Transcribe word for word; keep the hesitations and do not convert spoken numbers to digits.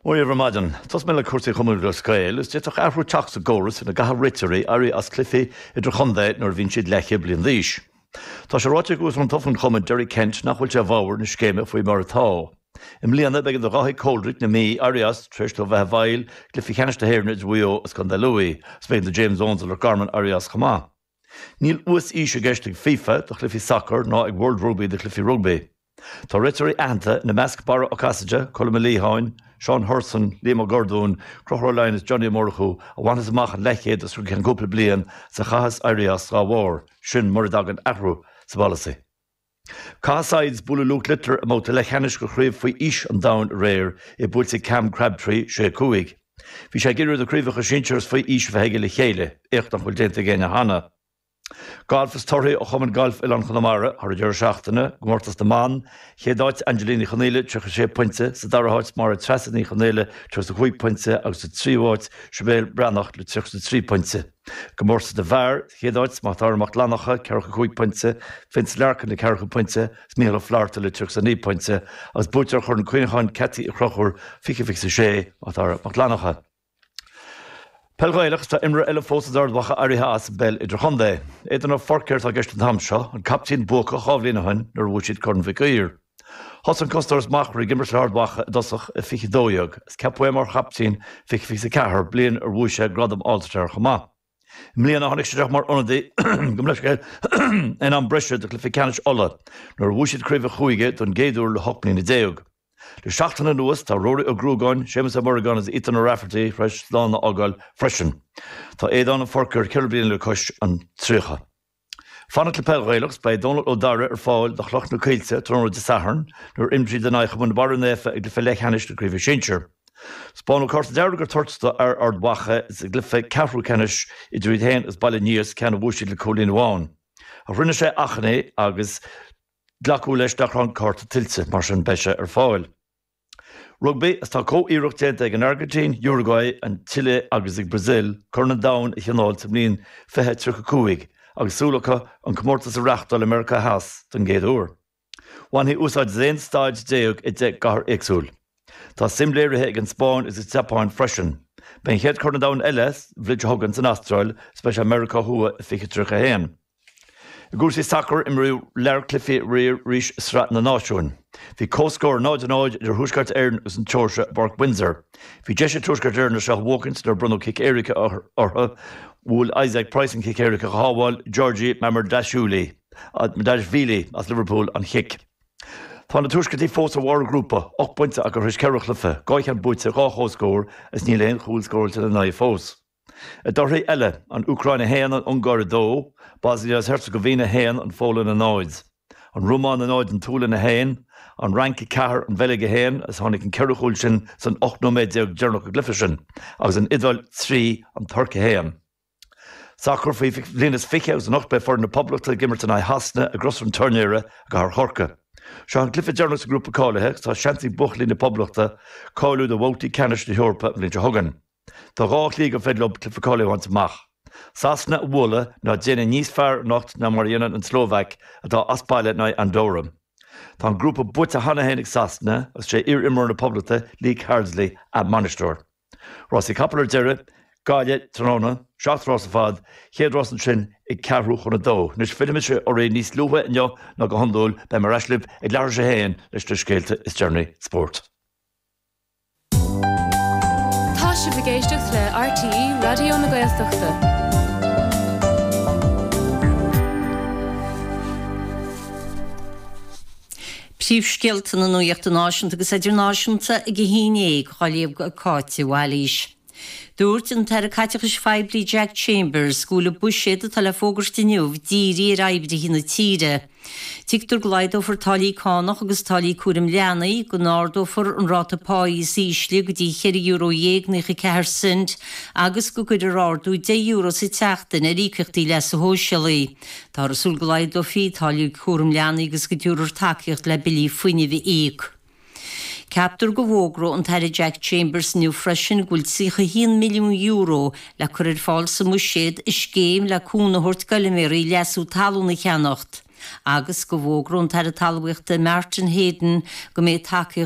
Mora dhaoibh ar maidin, Tosóidh mé le cúrsaí Chumann Lúthchleas Gael, is d'fhéadfadh athrú teacht sa gcóras ina gcaithfidh réiteoirí éirí as cluichí idirchontae nuair a bhíonn siad leathchéad bliain d'aois. Tá sé ráite ag Uachtarán tofa an chumainn Derek Kent nach bhfuil sé i bhfabhar na scéime faoi mar atá. I mbliana b'éigean do Dháithí Coldrick na Mí éirí as tar éis dó bheith i bhfeighil cluiche ceannais na hÉireann idir Mhaigh Eo agus Contae Lú, is b'éigean do James Owens ó Loch Garman éirí as chomh maith. Níl uas-aois i gceist ag FIFA do chluichí sacair ná ag World Rugby do chluichí rugbaí. Tá réiteoirí aitheanta ina measc Barra Ó Casaide, Colm Ó Liatháin, Seán Hurson, Liam Ó Gordún, Conchúr Ó Laighin is Johnny Ó Murchú a bhainfeas amach an leathchéad os cionn cúpla bliain is a chaithfeas éirí as dá bharr, sin mura dtagann athrú sa bpolasaí. Caithfidh Sides bualadh Luke Littler i mbabhta leathcheannais de chraobh faoi aois an domhain aréir, é buailte ag Cam Crabtree sé cúig. Bhí sé ag iarraidh na craobhacha sinsir is faoi aois a bheith aige le chéile, éacht nach bhfuil déanta ag éinne cheana. Galf is torthaí ó Chumann Gailf Oileán Chonamara thar an deireadh seachtaine, comórtas na mban, chéad áit Angelina Ní Chonaola tríocha sé pointe, sa dara háit Máire Treasa Ní Chonaola tríocha cúig pointe agus sa tríú háit Sibéal Breathnach le tríocha trí pointe. Comórtas na bhfear, chéad áit Macdara Mac Fhlannchadha ceathracha cúig pointe, Vince Larkin le ceathracha pointe is Mícheál Ó Flatharta le tríocha naoi pointe agus buaiteoir Chorn Cuimhneacháin Ceaití Uí Chonchúir fiche fiche sé Macdara Mac Fhlannchadha. Peil Ghaelach, tá imreoir eile fós as Ard Mhacha éirithe as an bpeil idirchontae. Aodán Ó Feirtéar atá i gceist an t-am seo, an captaen buacach dhá bhliain ó shin nuair a bhuaigh siad Corn Mhic Uidhir. Thosaigh an cosantóir as Machaire ag imirt le hArd Mhacha i dtosach i fiche dó dhéag is ceapadh é mar chaptaen fiche fiche ceathair, bliain ar bhuaigh sé gradam All-Star chomh maith. I mbliana tháinig sé isteach mar ionadaí gabh mo leithscéal in am breise do chluiche ceannais Uladh nuair a bhuaigh siad craobh an chúige don gcéad uair le hocht mbliana déag. Le seachtain anuas tá Rory Ó Gruagáin, Séamus Ó Muireagáin agus Ethan O'Rafferty tar éis slán a fhágáil freisin. Tá Aodán Ó Feirtéar ceithre bliana le cois an tríocha. Fanacht le peil Ghaelach, beidh Dónal Ó Dara ar fáil do Chloich na Coillte tráthnóna Dé Sathairn nuair a imreoidh siad in aghaidh Chumann Barra Naofa i gcluiche leathcheannais na Craoibhe Sinsir. Spáineadh cárta dearg ar toirt do fhear Ard Mhacha sa gcluiche ceathrú ceannais idir iad féin agus Baile an Easa, ceann a bhuaigh siad le cúilín amháin. Ach rinne sé achainí agus glacadh leis nach raibh an cárta tuillte, mar sin beidh sé ar fáil. Rugbaí, is tá comh-iarracht déanta ag an Airgintín, Uruguay, an tSile agus ag Brazil Corn an Domhain a thionól sa mbliain fiche tríocha cúig agus súil acu an comórtas a reáchtáil i Meiriceá Theas don gcéad uair. Bhainfí úsáid as aon staid déag i deich gcathair éagsúil. Tá suim léirithe ag an Spáinn agus an tSeapáin freisin. Beidh an chéad Chorn an Domhain eile an bhliain seo chugainn san Astráil is beidh sé i Meiriceá Thuaidh i fiche tríocha a haon. I gcúrsaí sacair, imríodh lear cluichí aréir arís i Sraith na Náisiún. Bhí comhscór náid a náid idir Thuaisceart Éireann agus an tSeoirsia i bPáirc Windsor. Bhí deis ag Tuaisceart Éireann é seo a bhuachaint nuair a bronnadh cic éirice orthu. Bhuail Isaac Price an cic éirice ach shábháil Giorgi Mamardashvili Mamardashvili as Liverpool an chic. Tá na Tuaisceartaigh fós ar bharr a ngrúpa, ocht bpointe acu tar éis ceithre chluiche, dhá cheann buaite, dhá chomhscór is níl aon chúl scóráilte ina n-aghaidh fós. I dtorthaí eile, an Úcráin a haon, an Ungáir a dó, Bosnia agus Herzegovina a haon, an Pholainn a náid, an Rómáin a náid, an tSualainn a haon, an Fhrainc a ceathair, an Bheilg a haon, agus tháinig an ceithre chúl sin san ocht nóiméad déag deireanach den gcluiche sin, agus an Iodáil trí, an Tuirc a haon. Sacar faoi bhliain is fiche agus anocht beidh foireann na Poblachta ag imirt in aghaidh Shasana i gCrois an Tuairneora i gCathair Chorcaí. Seo an cluiche deireanach sa ngrúpa cáilithe agus tá seans ag buachaillí na Poblachta cáiliú do bhabhtaí ceannais na hEorpa an bhliain seo chugainn. Tá dhá shlí gur féidir leo cluiche cáilithe a bhaint amach. Sasana a bhualadh ná déanamh níos fearr anocht ná mar a dhéanann an tSlóvaic atá as baile in aghaidh Andorra. Tá an grúpa buaite cheana féin ag Sasana agus sé iar-imreoir na Poblachta Lee Carsley a mbainisteoir. Rásaí capall ar deireadh, Gaillimh tráthnóna, seacht rás ar fad, chéad rás ansin ag ceathrú chun a dó. Anois fillfidh mise oraibh níos luaithe inniu ná go hiondúil, beidh mé ar ais libh ag leathuair tar éis a haon leis na scéalta is deireanaí spóirt. Tá sibh ag éisteacht le RTÉ Raidió na Gaeltachta. Príomhscéalta na nuachta náisiúnta agus idirnáisiúnta ag a haon déag, á léamh ag Cáit de Bhailís. Dúirt an tAire Caiteachais Phoiblí Jack Chambers go bhfuil an buiséad atá le fógairt inniu dírithe ar oibrithe na tíre. Tuigtear go laghdófar táillí cánach agus táillí cúraim leanaí, go n-ardófar an ráta páí is ísle go dtí cheithre euro dhéag naocha ceathair cent agus go gcuirfear ardú deich euro sa tseachtain ar íocaíochtaí leasa shóisialaigh. Táthar ag súil go laghdófaí táillí cúraim leanaí agus go dtabharfar tacaíocht le billí fuinnimh a íoc. Ceaptar go bhfógróidh an tAire Jack Chambers inniu freisin go bhfuil tríocha a haon milliún euro le cur ar fáil sa mbuiséad i scéim le cúnamh a thabhairt d'fheilméaraí leasú talún a cheannacht agus go bhfógróidh an tAire Talmhaíochta Martin Heydon go mbeidh tacaíocht